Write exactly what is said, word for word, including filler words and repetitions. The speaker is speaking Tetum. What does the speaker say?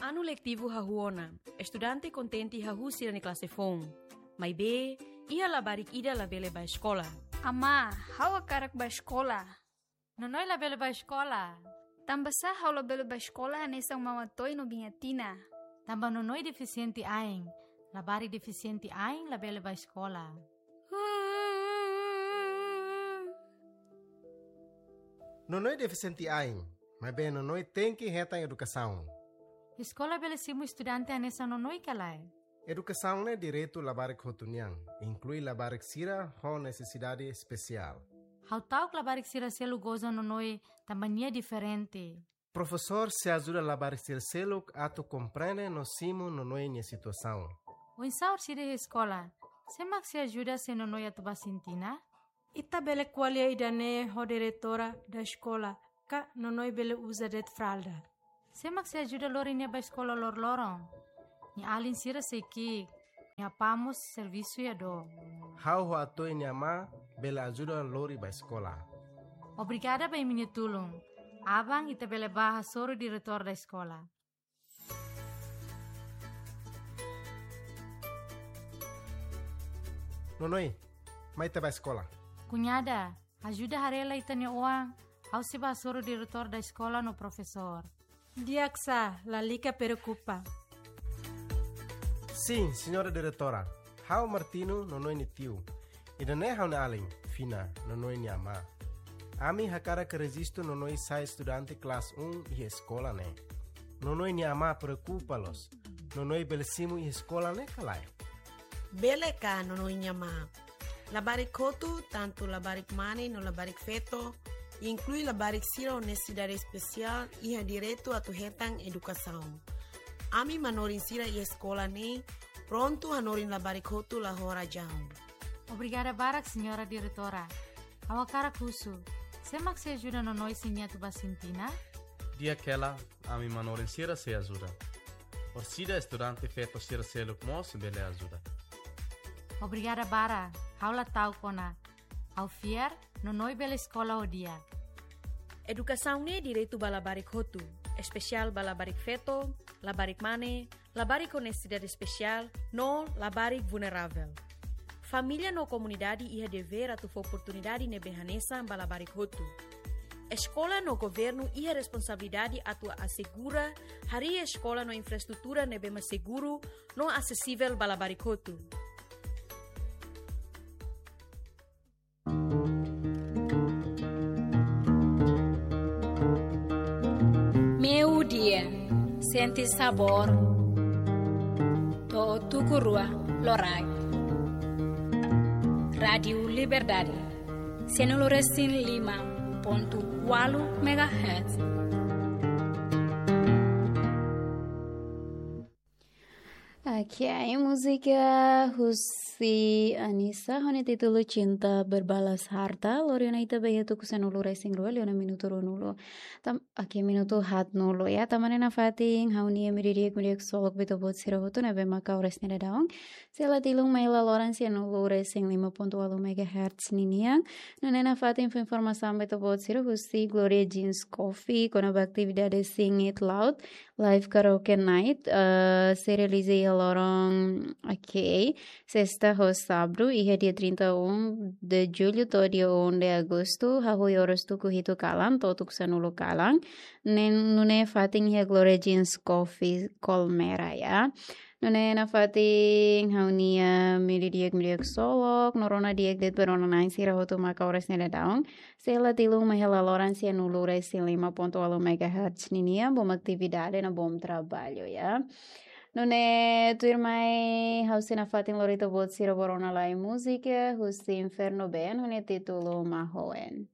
Anu letivu hahú ona, estudante kontente hahú sira-nia klase foun. Maibé, iha labarik ida labele bá eskola. Amá, ha'u hakarak bá eskola. Nonoi labele bá eskola. Tanbasá ha'u labele bá eskola hanesan Mama Toy no Biña Tina? Tanba Nonoi defisiente ain. Labarik defisiente ain labele bá eskola. Nonoi defisiente ain, maibé Nonoi tenke hetan edukasaun. Eskola bele simu estudante hanesan Nonoi ka lae? Edukasaun ne'e direitu labarik hotu nian, inklui labarik sira ho nesesidade espesiál. Ha'u ta'uk labarik sira seluk goza Nonoi tanba nia diferente. Profesór sei ajuda labarik sira seluk atu komprende no simu Nonoi nia situasaun. Oinsá orsida iha eskola? Sé mak sei ajuda se Nonoi atu bá sintina? Ita bele ko'alia ida-ne'e ho diretora da eskola, ka Nonoi bele uza de'it fralda. Sé mak sei ajuda lori nia bá eskola loroloron? Nia alin sira sei ki'ik, nia apá mós servisu iha dook. Ha'u ho Atoy nia amá bele ajuda lori bá eskola. Obrigada ba imi-nia tulun. Aban ita bele bá hasoru diretór da eskola. Nonoi, mai ita bá eskola. Kuñada, ajuda haree lai ita-nia oan, ha'u sei bá hasoru diretór da eskola no profesór. Di'ak sá, lalika preokupa. Sin, señora diretora. Ha'u Martino, Nonoi nia tiu. Ida-ne'e ha'u-nia alin, Fina, Nonoi nia amá. Ami hakarak rejistu Nonoi sai estudante klase un iha eskola ne'e. Nonoi nia amá preokupa loos. Nonoi bele simu iha eskola ne'e ka lae? Bele ka, Nonoi nia amá. Labarik hotu, tantu labarik mane no labarik feto, inklui labarik sira ho nesesidade espesiál, iha direitu atu hetan edukasaun. Ami manorin sira iha eskola ne'e prontu hanorin labarik hotu la ho razaun. Obrigada barak, señora diretora. Ha'u hakarak husu, sé mak sei ajuda Nonoi se nia atu bá sintina? Di'ak hela, ami manorin sira sei ajuda. Orsida estudante feto sira seluk mós bele ajuda. Obrigada barak, ha'u la ta'uk ona. Ha'u fiar, Nonoi bele eskola ho di'ak. Edukasaun ne'e direitu ba labarik hotu, espesiál ba labarik feto, labarik mane, labarik ho nesesidade espesiál, no labarik vulneravel. Família no komunidade iha devér atu fó oportunidade ne'ebé hanesan ba labarik hotu. Eskola no governu iha responsabilidade atu asegura harii eskola no infraestrutura ne'ebé mak seguru no asesivel ba labarik hotu. Meiudia, sente sabór to'o tuku rua loraik. Rádiu Liberdade, sanulu resin lima pontu ualu megahertz. Oke, múzika husi Anisa ho nia títulu Cinta Berbalas Harta, lori ona ita ba iha tuku sanulu resin rua, liu ona minutu ruanulu. Tam-, oke, minutu haatnulu, ya. Tanba ne'e nafatin ha'u-nia imi di'ak, imi di'ak ksolok ba ita-boot sira hotu ne'ebé mak ha'u resne dadaun. Sei la tilun mai hela loron sanulu resin lima pontu ualu megahertz ninian. Nune'e nafatin fó informasaun ba ita-boot sira husi Gloria Jeans Coffee, kona-ba atividade Sing It Loud, Live Karaoke Night, eh, sei realiza iha loron, oke, sesta ho sábadu, iha dia trinta e um de julho to'o dia um de agosto, hahú oras tuku hitu kalan, to'o tuku sanulu kalan, ne'e nune'e fatin iha Gloria Jeans Coffee Colmera, ya. Nune'e nafatin ha'u-nia imi di'ak, imi di'ak ksolok, no rona di'ak de'it ba rona-na'in sira hotu mak ha'u resne dadaun. Sei la tilun mai hela loron sanulu resin lima pontu ualu megahertz ninian, bom atividade no bom trabalho, ya. Nune'e tuirmai ha'u sei nafatin lori ita-boot sira ba rona lai múzika husi Inferno Band, ho nia títulu Mahoen.